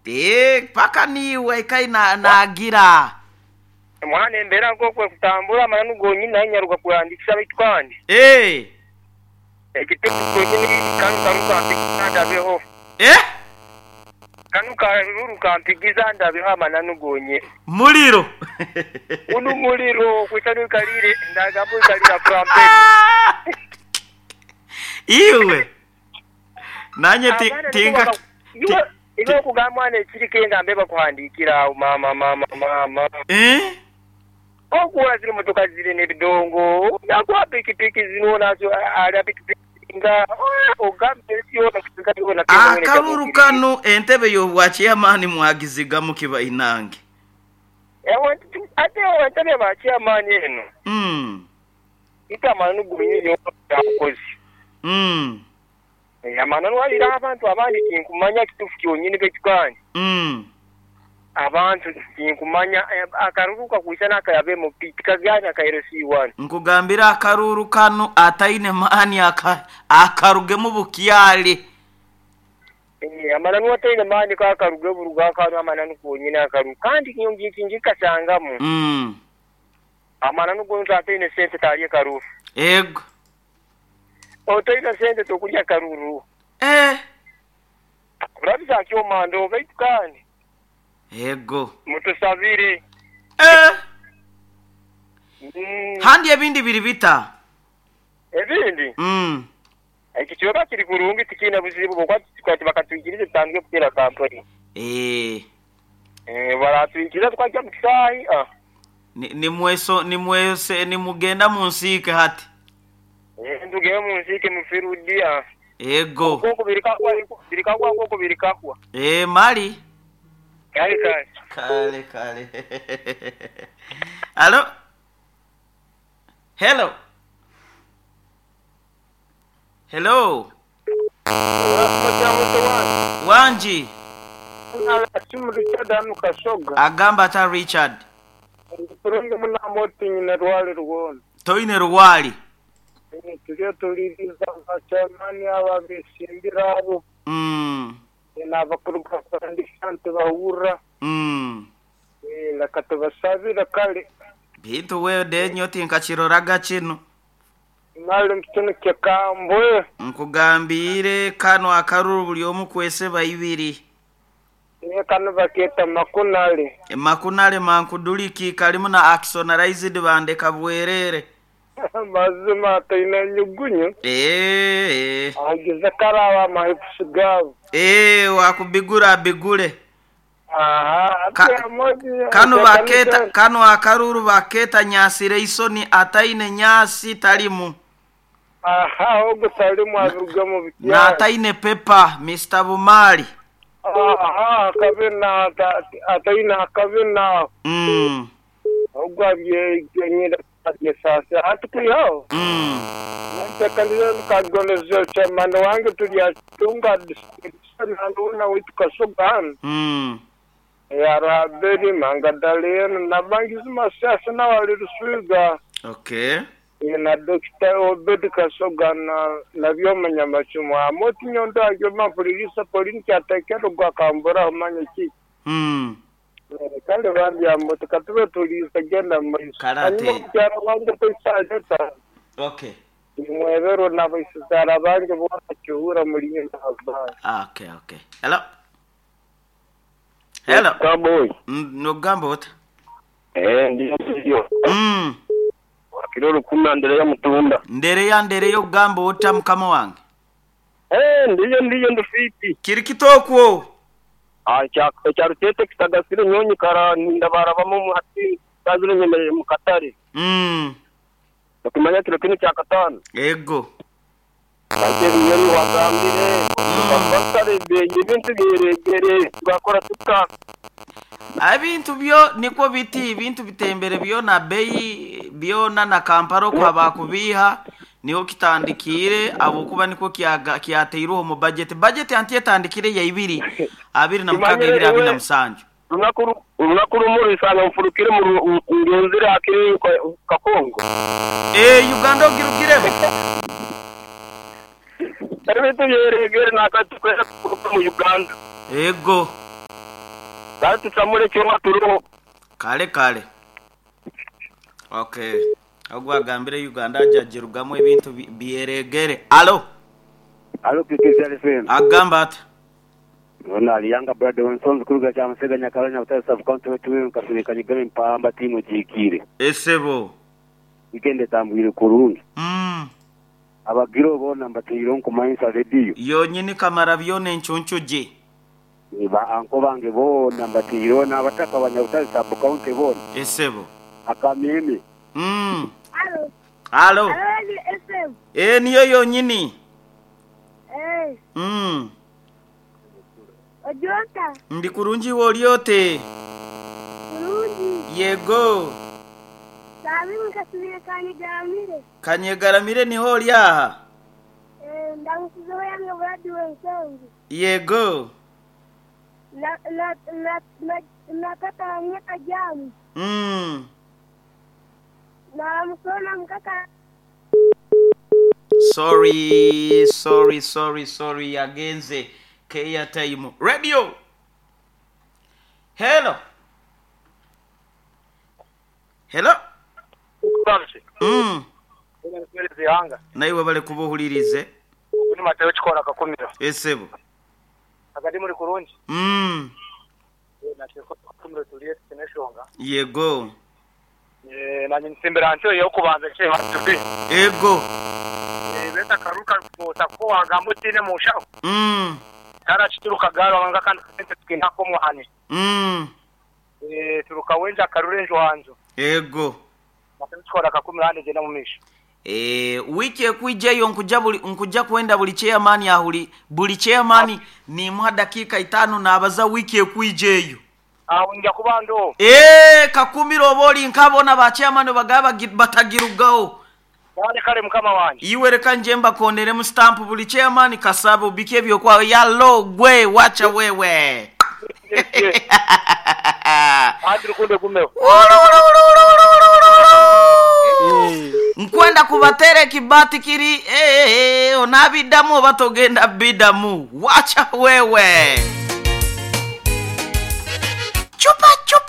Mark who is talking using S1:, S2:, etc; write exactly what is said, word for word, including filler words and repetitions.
S1: Eh, paka niiwe kai na nagira
S2: Mwana embeera nk'okwe kutambura amananu gonyini naye nyaruga kuhandikisa baitu kandi
S1: Eh,
S2: ekitebe kyonyini kanu karu kampigiza ndabeho
S1: eh
S2: kanu karuru kampigiza ndabeho amananu gonye
S1: muliro
S2: uno muliro kwita nikalire ndagamba ikalira frampeni
S1: Ah! Iwe nanye ti-
S2: Abaana
S1: tinka
S2: niko baka- iwe iwe okugamba mwana ekiriko engambe bakuhandikira awo mama mama mama
S1: eh
S2: okuwula ziri motoka ziri n'ebidongo nakuwa pikipiki zino nazo alya pikipiki nga ogamba ensi yona kusinga yona
S1: Akaruru kano entebe y'obwakiyamaani mwagizigamu kiba inange.
S2: Ate entebe bakyamaani eno
S1: Mm.
S2: itamani gonyi yomukozi
S1: Mm.
S2: amananu walira abantu abandi tinkumanya kitufu kyonyini betukandi
S1: Mm.
S2: abantu tinkumanya eh, akaruru kakwisa nakayabe mu tikagana kairesi one.
S1: Nkugambira akaruru kano ataine maani aka akarugemu bukyali.
S2: Eh, amananu ataine maani kakaruge buruga akanu amananu konyini akaru kandi ngikasangamu
S1: Mm.
S2: amananu gontu ataine sente talye karuru
S1: Ego.
S2: otaine sente tokulya karuru
S1: Eh.
S2: urabisa kyomando baitu kandi
S1: Ego.
S2: mutusabire.
S1: Eh.
S2: Mm,
S1: Handi ebindi biri bita.
S2: Ebindi
S1: Mm.
S2: ekicweka kiri kurungi tikiine buzibu bwokwati bakatwikiriza tutandike kuteera kampani.
S1: Eh.
S2: Eh, baratwikiriza twajja mu kisaayi ah.
S1: Ni, ni mweso ni mwese ni mugenda mu nsiike hati.
S2: Eh, ntugende mu nsiike mu firudi ah.
S1: Ego.
S2: Nk'oku birikakwa birikakwa nk'oku birikakwa.
S1: Eh, mali.
S2: Kale kale.
S1: Kale kale. Hello. Hello. Hello. Wanji.
S3: Richard anu Kasoga.
S1: Agamba ata Richard.
S3: Kurungi munamoti nyina rwali rwona.
S1: Toine rwali.
S3: Turiyo tuliriza abakyamani aba besimbira abo
S1: Mm.
S3: n'abakuruga kuhandikisa ntibahurra.
S1: Mm.
S3: Leka tubasabire kale.
S1: Bintu wewe denyo tinkakiroraga kino.
S3: Mali kino kyekambwe.
S1: Nkugambire kano akaruru buli omu kwese baibiri.
S3: Niye kano bakeeta makunale.
S1: Makunale mankuduliki kalimu na axonalized bandeka bwerere.
S3: Mazima ataine nyugunyu.
S1: Eh.
S3: Agize karaba amahipusi gaabo.
S1: Eh, wakubigura abigule.
S3: Aha,
S1: Ka-
S3: ate amoji
S1: Kano baketa kano akaruru baketa nyasire isoni ataine nyasi talimu
S3: Aha, ogo talimu abiruga mu
S1: na
S3: bikyaro.
S1: ataine pepa Mister Bumali.
S3: Aha, akabina ata- ataine akabina
S1: Mm.
S3: ogo abyegenyira abyesasa hatukwihaho.
S1: Mm.
S3: Ntekanire nkagoneza chairman wange tulyatunga nanuna witu Kasoga hano.
S1: Mm.
S3: Yaraberi mangadalena nabangizi masasa nawali Ruswiga.
S1: Okay.
S3: Na Dokita Obed Kasoga na na byoma nyamacumu amoti nyondo agyo mapulirisa polini kyatekero gwa kambura omanye ki.
S1: Mm.
S3: Kale bambi amoti katube tulisa genda maiso.
S1: Karate.
S3: Hanyuma kukyaro wange toisaleta.
S1: Okay.
S3: Nimwebero n'abaisizara bange bona kihura muri nyina.
S1: Okay, okay. Hello. Hello.
S2: Cowboy.
S1: Mm, nogamba ota.
S2: Eh, ndiyo ndiyo.
S1: Mm.
S2: Kiro lukumi Andereya Mutunda.
S1: Ndereya ndereya ogamba ota mukama wange.
S2: Eh, ndiyo ndiyo ndufiti.
S1: Kiri kitokwo.
S2: Ah, kya kya rutete kitagasire nyonyi kara ndabarabamo mu hati kazire nyemerere mu katare.
S1: Mm.
S2: Tukimanya kiro kino kya katano.
S1: Ego.
S2: Ate nyeri wagambire. Bakare benye bintu byeregere bakora tuka.
S1: Ebintu byo niko biti ibintu bitembere byona bei byona na Kampala kwa bakubiha niho kitandikire abo kuba niko kyaga kyateiruho mu budget budget anti etandikire ya ibiri abiri na mukaga ibiri abiri na musanju.
S2: Runakuru runakuru muri sana mfurukire mu ngenzira akiri Kakongo.
S1: Eh, Uganda ogirugiremo.
S2: Ebintu byeregere nakatukwera mu Uganda.
S1: Ego.
S2: Kale tusamule kyoma tuliho.
S1: Kale kale. Okay. Ogwo agambire Uganda ajagirugamu ebintu bi- byeregere. Alo,
S4: Alo K K C L F M.
S1: agamba ati
S4: Ona aliyanga brother wensonzi kuruga kya Musega Nyakalanya Butare sub county wetu nkasirika nyigame mpamba timu jikire.
S1: esebo.
S4: Weekend tambwire kurungi.
S1: Mm.
S4: Abagiro bona mbatiro nkumayinsa radio.
S1: Yonyini kamara byona enchunchu gye.
S4: Ba anko bange bona mbatiro n'abataka banyabutare sub county bona.
S1: Esebo.
S4: Akameme.
S1: Mm.
S5: Alo,
S1: Alo.
S5: alo F M.
S1: E niyo yonyini.
S5: Eh,
S1: Mm.
S5: ojota,
S1: Ndi kurungi wolyote.
S5: kurungi,
S1: Yego.
S5: sabi mukasubire kanyegaramire.
S1: Kanyegaramire niho oli aha.
S5: Eh, ndamusizeho yange bradi wensonzi.
S1: Yego.
S5: Na na na na na tata wamwe kajamu.
S1: Mm.
S5: Na musona mukaka
S1: Sorry, sorry, sorry, sorry. Yagenze keya time. Radio. Hello. Hello. Mm.
S2: Yanga.
S1: Naiwe bale kubuhulirize.
S2: Ni Mateo chikora kakumiro.
S1: Esebo.
S2: Akadi muri kurungi.
S1: Mm.
S2: Nateko kakumiro tuliye tineshonga.
S1: Yego.
S2: Eh nanye nsimbira ncho yo kubanza che tubi.
S1: Ego.
S2: Eh beta karuka kota ko wagambo tine mushaho.
S1: Mm.
S2: Kara chituruka garo wanga kandi tukinako muhani.
S1: Mm.
S2: Eh turuka wenja karurenjo wanzo.
S1: Ego.
S2: Mateo chikora kakumiro hande jena mumisho.
S1: Eh, wiki ekwijayo nkuja buli nkuja kwenda buli chairman ahuli buli chairman nimuha dakika itano nabaza wiki ekwijeyo.
S2: Awo nja kubando.
S1: Eh, kakumiro oboli nkabona ba chairman bagaba batagirugaho.
S2: Wale kale mukama wanje.
S1: Iwe reka nje mbakonere mu stamp buli chairman kasabo bike ebyo kwa yalo gwe wacha wewe.
S2: Adri kunde kumeo.
S1: Nkwenda kubatere kibati kiri eh eh onabidamu obatogenda bidamu wacha wewe. Chupa chupa.